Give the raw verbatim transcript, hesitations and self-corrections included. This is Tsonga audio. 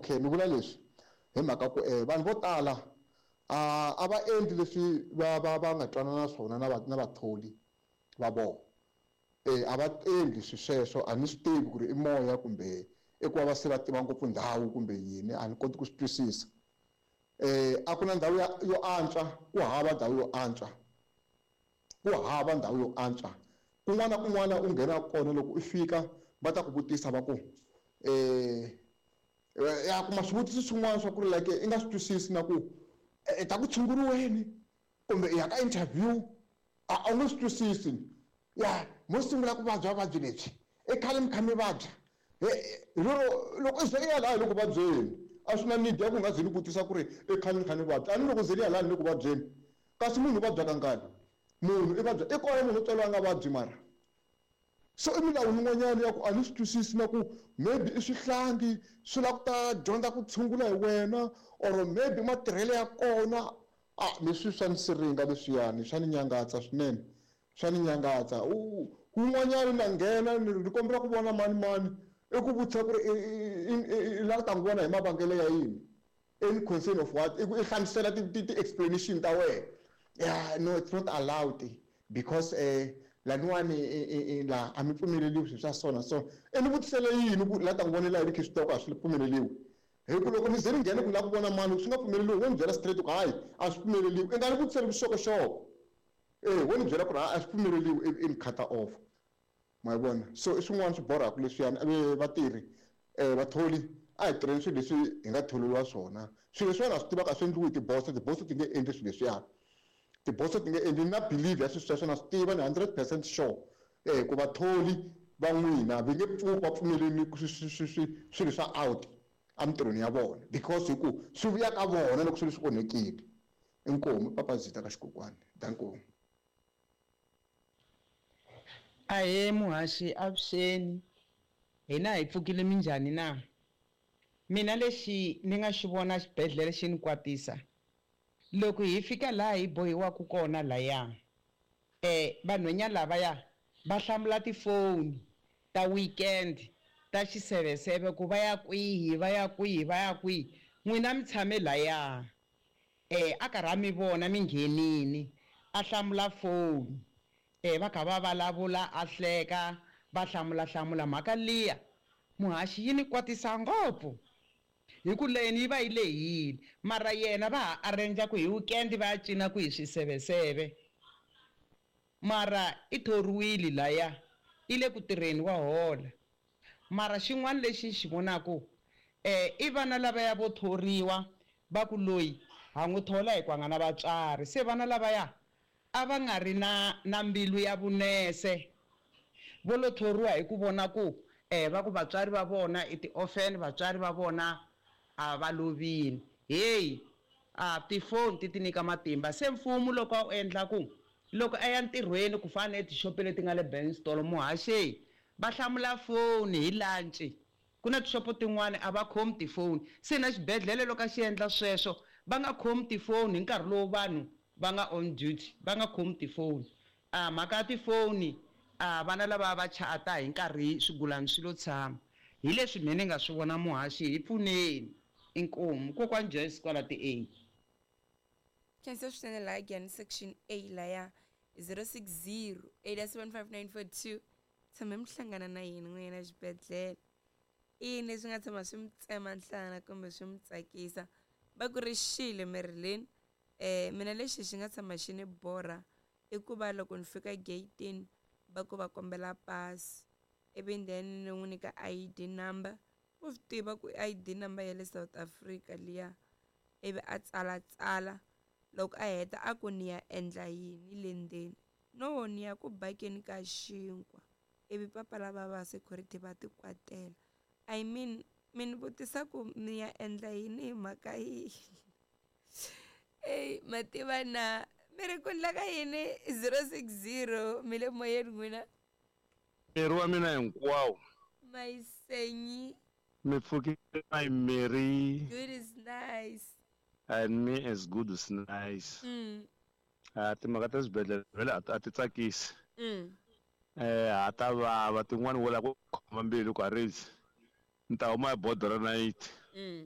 Okay, ni vula leswi hi mhaka ku eh, vanhu vo tala a a va endli leswi va va va nga twanana swona na va na vatholi va vona. Eh, a va endli swi sweswo, a ni swi tivi ku ri i moya kumbe i ku va va se va tiva ngopfu ndhawu kumbe yini, a ni koti ku swi twisisa. Eh, a ku na ndhawu ya yo antswa, ku hava ndhawu yo antswa, ku hava ndhawu yo antswa. Kun'wana na kun'wana u nghena kona, loko u fika va ta ku vutisa va ku eh ya kuma swivutiso swin'wana swa ku ri like i nga swi twisisi na ku i ta ku tshunguriweni kumbe i ya ka interview, a a wu nge swi twisisi. Ya mo sungula ku vabya vuvabyi lebyi i khale mi kha mi vabya, hi lero loko i ze i ya laha hi le ku vabyeni, a swi na need ya ku nga ze ni vutisa ku ri i khale ni kha ni vabya, a ni loko ze ni ya laha ni le ku vabyeni. Kasi munhu u vabya kangani? Munhu i vabya i kona munhu u tswariwa a nga vabyi, mara so i milawu yin'wanyana ya ku a ni swi twisisi na ku maybe i swihlangi swi lava ku ta dyondza ku tshungula hi wena, or maybe matirhelo ya kona. A leswi swa ni siringa leswiyani, swa ni nyangatsa swinene, swa ni nyangatsa. Wun'wanyana na nghena ni kombela ku vona mani mani, i ku vutisa ku ri i lava ku ta n'wi vona hi mavangelo ya yini, in concern of what, i ku i hlamusela ti-explanation ta wena. Yeah, no, it's not allowed because eh laniwani la a mi pfumeleliwi swilo swa so na so. I ni vutisele yini ku la ta n'wi vonela yini, khe swi tiva ku a swi pfumeleliwi? Hi ku loko ni ze ni nghene ku la ku vona mani swi nga pfumeleliwi, wo ni byela straight ku hayi a swi pfumeleliwi, i nga ni vutiseli vuxokoxoko. Eh, wo ni byela ku ri a swi pfumeleliwi, ivi i ni cut off. Ma yi vona? So i swin'wana swi borhaka leswiyani. Vatirhi, vatholi, a hi tirheni swilo leswi hi nga tholeriwa swona. Swilo leswiwani ha swi tivaka a swi endliwi hi tiboso, tiboso ti nge endli swilo leswiyani, tiboso ti nge endli. Na believe ya swilo sweswo, na swi tiva, ni hundred percent sure eh ku vatholi va n'wina va nge pfuki va pfumeleli swilo swa out emitirhweni ya vona, because hi ku swi vuya ka vona loko swilo swi onhekile. Inkomu papa Zita ka xikokwani, dankomu. Ahee muhaxi, avuxeni. Hina hi pfukile, minjhani na? Mina lexi ni nga xi vona xibedhlele xi ni kwatisa, loko hi fika laha hi bohiwaka kona laya, eh vanhwenya lavaya va hlamula tifoni ta weekend ta xiseveseve ku va ya kwihi, va ya kwihi, va ya kwihi. N'wina mi tshame laya, eh a karhi a mi vona mi nghenini, a hlamula foni, eh va kha va vulavula, a hleka, va hlamula hlamula. Mhaka liya muhaxi yi ni kwatisa ngopfu, hi ku leni yi va yi lehile, mara yena va ha arrange ku hi weekend va ya cina ku hi swiseveseve, mara i thoriwile laya, i le ku tirheni, wa hola. Mara xin'wana lexi ni xi vonaku, eh i vana lavaya vo thoriwa va ku loyi ha n'wi thola hi ku a nga na vatswari, se vana lavaya a va nga ri na na mbilu ya vunese, vo lo thoriwa hi ku vona ku eh va ku vatswari va vona i ti-orphan, vatswari va vona a va lovile. Hey, a tifoni ti ti nyika matimba. Se mfumo loko a wu endla ku loko a ya ntirhweni ku fana na etixopo leti nga le Benstolo, muhaxi va hlamula foni hi lunch. Ku na tixopo tin'wani a va khomi tifoni, se na xibedhlele loko a xi endla sweswo, va nga khomi tifoni hi nkarhi lowu vanhu va nga on duty, va nga khomi tifoni. A mhaka ya tifoni, a vana lava va chata hi nkarhi swigulani swi lo tshama. Hi leswi mina ni nga swi vona muhaxi, hi pfuneni. Inkomu kokwani Joyce kwala ti A. Khensa swinene laha Giyani section A laya zero six zero eight seven five nine four two. Tshame mi hlangana na yini n'wina xibedhlele? I yini leswi nga tshama swi mi tsema nhlana kumbe swi mi tsakisa? Va ku ri xile Marilyn. Eh mina lexi xi nga tshama xi ni borha i ku va loko ni fika gate-ini va ku va kombela pasi, ivi then ni n'wi nyika I D number. U swi tiva ku I D number ya le South Africa liya, ivi a tsalatsala. Loko a heta a ku ni ya endla yini le ndzeni? No, ni ya ku bakeni ka xinkwa. Ivi papa lava va security va ti kwatela. I mean, mi ni vutisa ku ni ya endla yini hi mhaka yihi? Ey, ma tiva na mi ri ku endla ka yini? zero six zero mi le moyeni n'wina. Miri wa mina hinkwawo. Mayisenyi. Mi pfukile my Mary. Good is nice. And me as good is nice. Mm. Ah, timhaka ta swibedhlele vhele a ti tsakisi. Mm. Eh, ha ta vava tin'wani wo lava ku khoma mbilu ku a rezi. Ni ta huma hi bodo ra nayiti. Mm.